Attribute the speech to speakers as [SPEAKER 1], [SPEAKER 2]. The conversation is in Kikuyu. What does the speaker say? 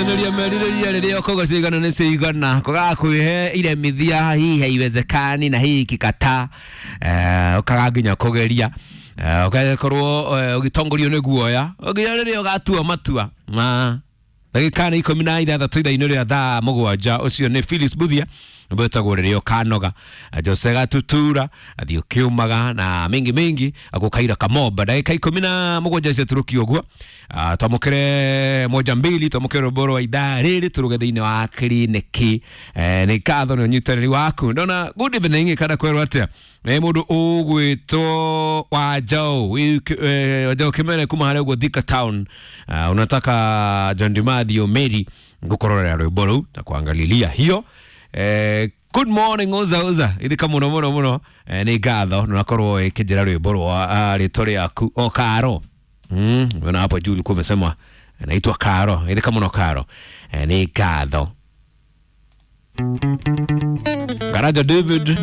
[SPEAKER 1] Gukinyanĩria merirĩria rĩrĩa ũkauga cigana nĩ cigana kũgakwihe iremithia hihi haiwezekani na hihi kikataa, ũkaga nginya kũgeria, ũgakorwo ũgĩtongorio nĩ guoya nginya rĩrĩa ũgatua matua ma ndagĩka nĩ 16 ithaa-inĩ rĩa thaa 7. Ũcio nĩ Phyllis Buthia wĩtagwo rĩrĩa ũkanoga, Jose Gatutura athiĩ ũkĩũmaga na mingi mingi agũkaira kamomba. Ndagĩka 17 ciatũrũkio ũguo, twamũkĩre moja mbili, twamũkĩre rwĩmbo rwa ithaa rĩrĩ tũrũge thĩinĩ wa kiriniki. Nĩ ngatho nĩ ũnyitanĩri waku. Ndona good evening kana kwerwo atĩa nĩ mũndũ ũgwĩtwo Wanjaũ, Wanjaũ Kĩmere kuma harĩa ũguo Thika Town. Unataka John Dimathio Mary ngũkororera rwĩmbo rũu na kuangalilia hiyo. Good morning uza uza ithika muno muno muno. Nĩ ngatho nĩ ũrakorwo ĩkĩnjĩra rwĩmbo rwa rĩtwa rĩaku o Karo. Unaona hapo juu ulikuwa umesema naitwa Karo. Ithika muno Karo. Nĩ ngatho. Garaja David.